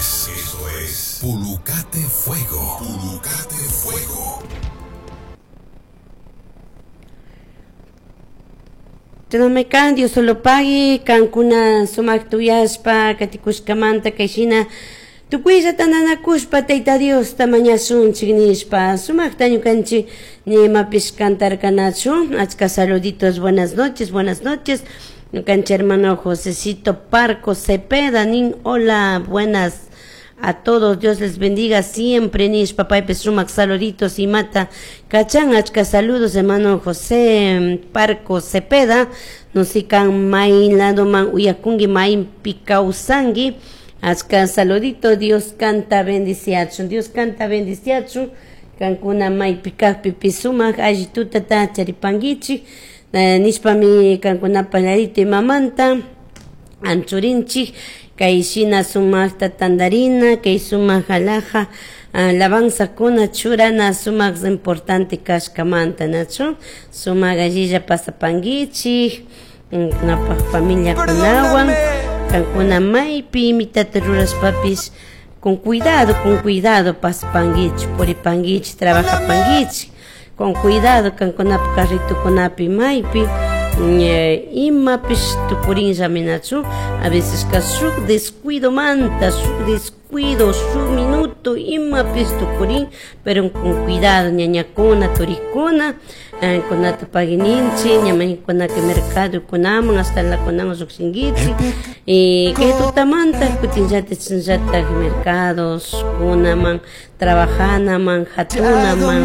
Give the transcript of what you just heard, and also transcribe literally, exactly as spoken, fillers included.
es, esto es Pulucate Fuego. Pulucate Fuego. Tunamekan Dios solo pagui, kankuna sumak tuyashpa, katikushkamanta kayshina tukuylla tantanakushpa Tayta Diosta mañashunchik nishpa sumakta ñukanchik nimapish cantarkanachu. Achka saluditos, buenas noches, buenas noches. Ñukanchik hermano Josecito Parco Cepeda nin, hola, buenas a todos, Dios les bendiga siempre, nishpa paypish sumak saluditos imata kachan. Achka saludos hermano José Parco Cepeda, nusikan may ladoman uyakunki maypi kawsanki. Achka saludito, Dios canta bendiciachun, Dios canta bendiciachun, kankuna maypi kajpipish sumak alli tutata charipankichik, nishpami kankunapa ladito imamanta anchurinchik kay shina sumakta tandarina, kay sumak alhaja alabanzakuna churana sumak importante kashkamanta, nachu sumak allilla pasapankichik kunapaj familiakunawan, kankuna maypi imitata rurashpapish con cuidado, con cuidado pasapankichik, puripankichik, trabajapankichik, con cuidado kankunapaj carritukunapi maypi imapish tukurinllami, nachu a veces ka shuk descuido manta, shuk descuido, shuk minuto imapish tukurin, pero con cuidado ñañakuna, turikuna, kunata paguininchik, ñamañkunaka mercado kunaman hasta la kunaman llukshinkichik, y kay tutamanta kutinllatik chasnallatak mercados kunaman, trabajanaman, hatunaman.